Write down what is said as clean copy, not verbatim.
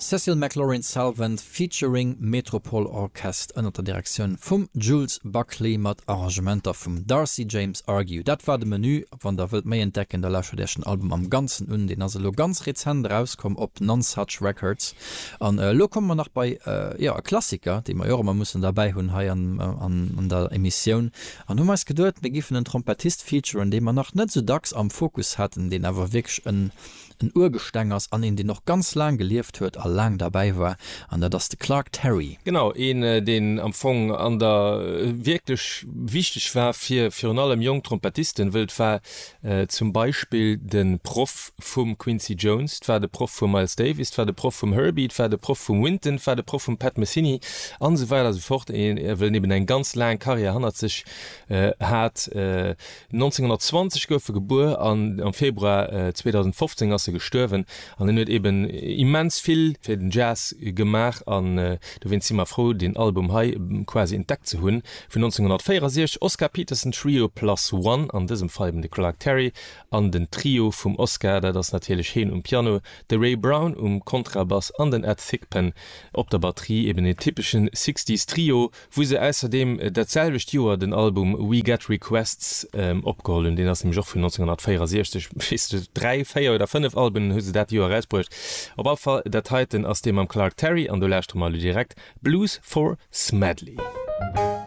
Cecil McLorin Salvant featuring Metropole Orchest ënner der Direktioun vum Jules Buckley mat Arrangementer vum Darcy James Argue. Dat war de Menü. Wann der wëllt méi entdecken, da lauschtert iech den Album am Ganzen un. Deen ass elo ganz rezent erauskomm op Nonesuch Records. An elo komme mer nach bei, jo, e Klassiker, dee mer jo och ëmmer mussen derbäi hunn hei an der Emissioun. An hu mer eis geduet, mir giffen en Trompettist featuren, dee mer nach net esou dacks am Fokus haten, deen awer wierklech en en Urgesteng ass an een deen och ganz laang gelieft huet a laang derbäi war, an dat ass de Clark Terry. Genau, een deen am Fong an der wierklech wichteg war fir virun allem jonk Trompettisten, wëll et war zum Beispill de Proff vum Quincy Jones, et war de Proff vum Miles Davis, et war de Proff vum Herbie, et war de Proff vum Wynton, et war de Proff vum Pat Metheny an esou weider a sou fort, een wëll en eben eng ganz laang Karriär hannert sech hat. 1920 gouf e gebuer an am Februar 2015 ass e gestuerwen. An en huet eben immens vill fir den Jazz gemaach an dowéinst si mer frou deen Album hei quasi entdeckt ze hunn. Vun 1964, Oscar Peterson Trio Plus One, an dësem Fall eben de Clark Terry an den Trio vum Oscar, dat ass natierlech heen um Piano, de Ray Brown um Kontrabass an den Ed Thigpen op der Batterie, eben een typeschen Sixties Trio. Wou se ausserdeem dat selwecht Joer den Album We Get Requests opgeholl hunn, deen ass nämlech och vun 1964, weess de, 3, 4 oder 5 Alben hu se dat Joer erausbruecht. Op all Fall, dat heiten ass dee mam Clark Terry an do lauschtere mer elo direkt Blues for Smedley.